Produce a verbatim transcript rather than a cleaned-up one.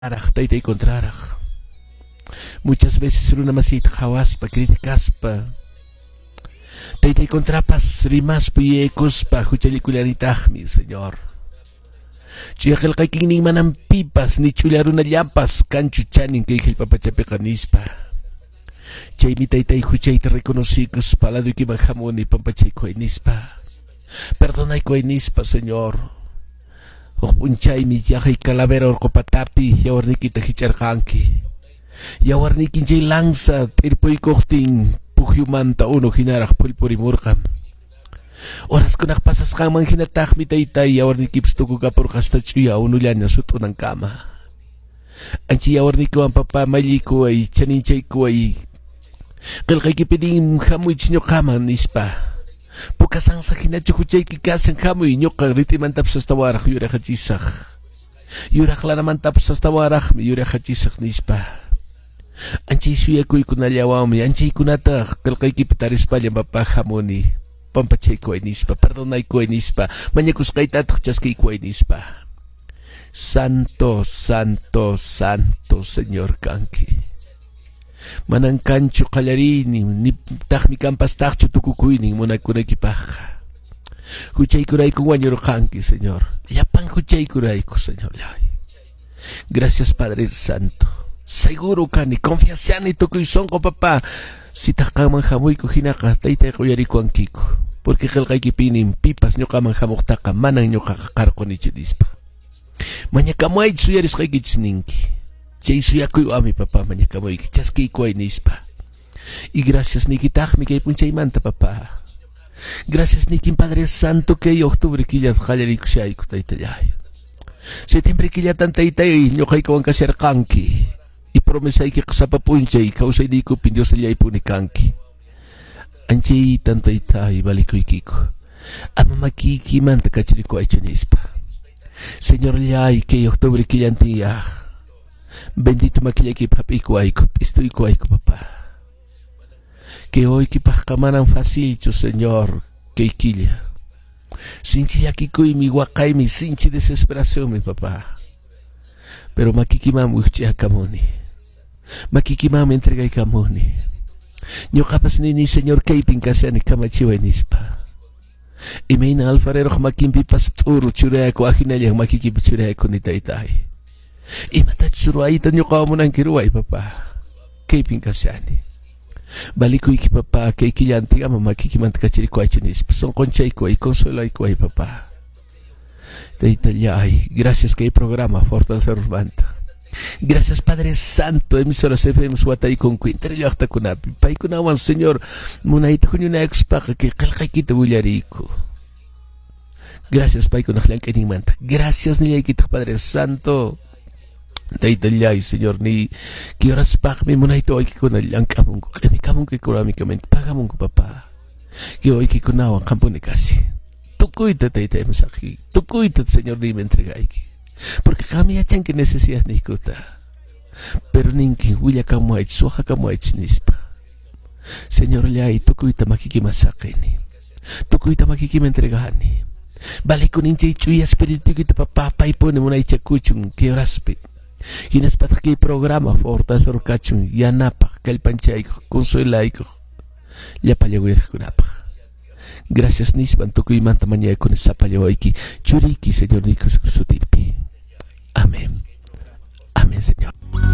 Taytay contraraq. Muchas veces runa masiyta qhawaspa, criticaspa. Taytay contrapas rimaspa yuyaykuspa huchallikullanitaqmi, Señor. Chuya qillqaykinnin manam pipas ni ch'ulla runallapas kanchu chanin kay hallp'a pachapiqa nispa. Chaymi taytay huchayta reconocikuspa laduykiman hamuni pampachaykuway nispa. Perdonaykuway nispa, Señor. Huk p'unchaymi yaqay calavera urqu patapi yawarniykita hich'arqanki. Yawarniykin chay lanza t'irpuykuqtin pukyumanta unu hinaraq phullpurimurqan. Horaskunaq pasasqanman hinataqmi taytay yawarniykipas tukukapurqa hasta ch'uya unullaña sut'unankama. Ancha yawarniykiwan papá malliykuway chaninchaykuway. Qillqaykipi nin hamuychik ñuqaman nispa. Puka sansa hinachu huchayki kashan hamuy ñuqa rit'imantapas astawanraq yuraqachisaq. Yuraq lanamantapas astawanraqmi yuraqachisaq nispa. Anchay suyakuykunallawanmi anchaykunata qillqaykipi tarispalla papá hamuni. Pampachaykuway nispa, perdonaykuway nispa, mañakusqaytataq chaskiykuway nispa. Santo, santo, santo, Señor kanki. Manan kanchu qallariynin, nitaqmi kanpastaqchu tukukuynin munakunaykipaqqa. Huchaykurayku wañurqanki, Señor. Llapan huchaykurayku, Señor. Gracias, Padre Santo. Seguro kani, confiashani tukuy sunqu, papá. Sitaq qanman hamuyku hinaqa taytayqa uyarikuwankiku. Porque qillqaykipinin pipas ñuqaman hamuqtaqa manan ñuqaqa qarqunichu nispa. Mañakamuwaychis uyarisqaykichis ninki. Chay suyakuywanmi papá mañakamuyki chaskiykuway nispa. Y gracias niykitaqmi kay p'unchaymanta papá. Gracias niykin Padre Santo kay octubre killa qallariykushayku taytallay. Septiembre killatan taytay ñuqaykuwan kasharqanki. Y promesaykiqa sapa p'unchay kawsayniykupi Diosllaypuni kanki. Anchaytan taytay valikuykiku. Ama makiykimanta kacharikuwaychu nispa. Señorllay kay octubre killantiyaq. Bendito makillaykipi hap'iykuwayku, p'istuykuwayku papá. Kay wawaykipaqqa manan facilchu, Señor, kay killa. Sinchi llakikuymi, waqaymi, sinchi desesperacionmi, papá. Pero makiykimanmi wikch'akamuni. Makiykimanmi entregaykamuni. Ñuqapas nini, Señor, kaypin kashani kamachiway nispa. Imayna alfareroq makinpipas t'uru churayaku ahinallan makiykipi churayakuni taytay. Imatachus ruwayta ñuqawan munanki ruway, papá. Kaypin kashani. Valikuyki, papá, kay killantin ama makiykimanta kacharikuwaychu nispa. Sunqunchaykuway, consuelaykuway, papá. Taytallay, gracias kay programa Fortalecermanta. Gracias Padre Santo, emisoras F M wataykunku entero llaqtakunapi. Paykunawan, Señor, munayta huñunakuspaqa kay qillqaykita willariyku. Gracias paykunaq llank'ayninmanta. Gracias nillaykitaq Padre Santo. Taytallay, Señor, ni kay horaspaqmi munayta waykikuna llank'amunku, q'imikamunku económicamente, pagamunku, papá. Kay waykikunawan qampuni kasi. Tukuyta taytay saqi, tukuyta, Señor, niymi entregayki. Porque qam yachanki necesidad niykuta. Pero ninki willakamuwaychis, waqakamuwaychis nispa. Señorllay, tukuyta makiykiman saqini. Tukuyta makiykiman entregani. Valikunin chay ch'uya espirituykita papá paypuni munaychakuchun kay horaspi. Hinaspataq kay programa fortalecer kachun yanapaq, kallpanchaykuq, consuelaykuq, llapallan uyariqkunapaq. Gracias nispan tukuymanta mañakuni sapalla wawayki churiyki Señor Jesucristo sutinpi. Amén. Amén, Señor.